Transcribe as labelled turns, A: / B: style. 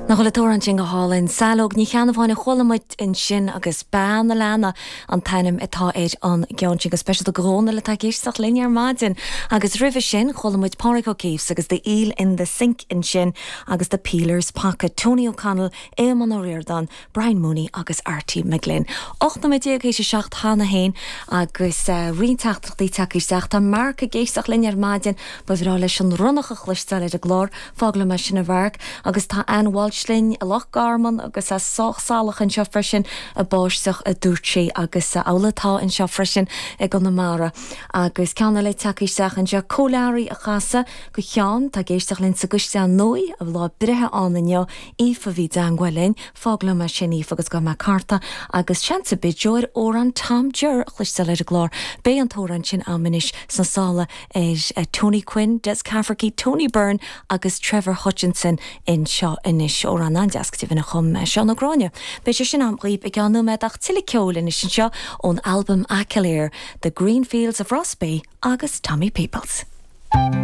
A: Nach bhfuil an t-amhrán sin go hálainn? Saileog Ní Cheannabháin a chuala muid ansin agus Bean a' Leanna an t-ainm atá ar an gceann sin. Go speisialta do Dhónal atá ag éisteacht linn ar maidin. Agus roimhe sin chuala muid Pádraig Ó Céifs agus The Eel in the Sink ansin agus The Peeler's Pocket, Tony O'Connell, Éamonn Ó Ríordáin, Brian Mooney agus Arty McGlynn. 18 nóiméad théis a 7 cheana féin agus roinnt teachtaireachtaí tagtha isteach. Tá Mark ag éisteacht linn ar maidin. Ba bhreá leis an ronnach a chloisteáil ar an gclár. Fág liom é sin a Mhark. Agus tá Ann Walsh linn i Loch Garman agus é sách salach anseo freisin, ag báisteach a dúirt sí agus amhlaidh atá anseo freisin i gConamara. Agus ceann eile tagtha isteach anseo, Cóilearaí a chasadh go Sheán, atá ag éisteacht linn sa gCaisleán Nua, a bhfuil lá breithe ann inniu. Aoife a bhí i dteangmháil linn. Fág liom é sin, Aoife, agus gabhfaidh mé cárta agus seans ar bith ar amhrán Tom Jer a chloisteáil ar an gclár. Beidh an t-amhrán sin a'm anois sna sála ar Tony Quinn, Des Cafferkey, Tony Byrne agus Trevor Hutchinson anseo anois. Amhrán an-deas go deimhin a chum Seán Ó Gráinne. Beidh sé sin a'm dhaoib i gceann nóiméad ach tuilleadh ceoil anois anseo ón albam Aiciléar, The Green Fields of Rossbeigh agus Tommy Peoples.